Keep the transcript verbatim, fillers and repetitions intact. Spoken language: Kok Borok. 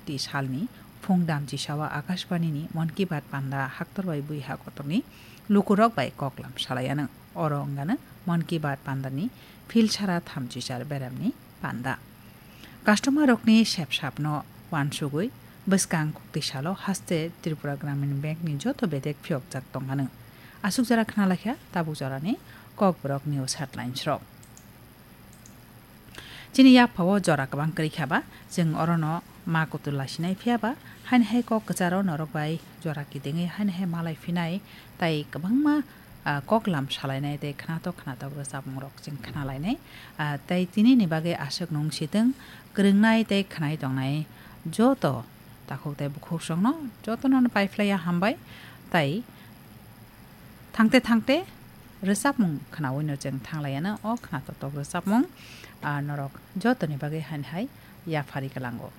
Ti salni phung damchisao Akashbanini Mon Ki Baat panda haktor bai buiha kotorni lukurok bai koklam salaianw. Oro wngano Mon Ki Baat pandani philsara thamchichar beramni panda. Customer rokni sepsapno wansugwi bwskang kuktisalo haste Tripura Gramin Bank ni joto bedek phiyokjak tongmano. Aswk jora khna laikha tabuk jorani Kokborok news headlines rok. Chini yaphao jora kwbang kwrwi kha ba, chwng orono ma kutul laisinai phiya ba, haini hai kok kwcharo norok bai jora kidingwi haini hai malai phinai, tai kwbangma, ah, koklam salainai tei khnatok khnatok rwchapmung rok chwng khnalainai. Ah, tei tini ni bagwi aswk nung sitwng kwrwngnai tei khnai tongnai joto takhuk tei bukhuk songno jotono paiphlaiya hambai, tai thangte thangte rwchapmung khnaui no chwng thanglaiano o khnatok tok rwchapmung, ah, norok jotoni bagwi haini hai yaphari kwlango.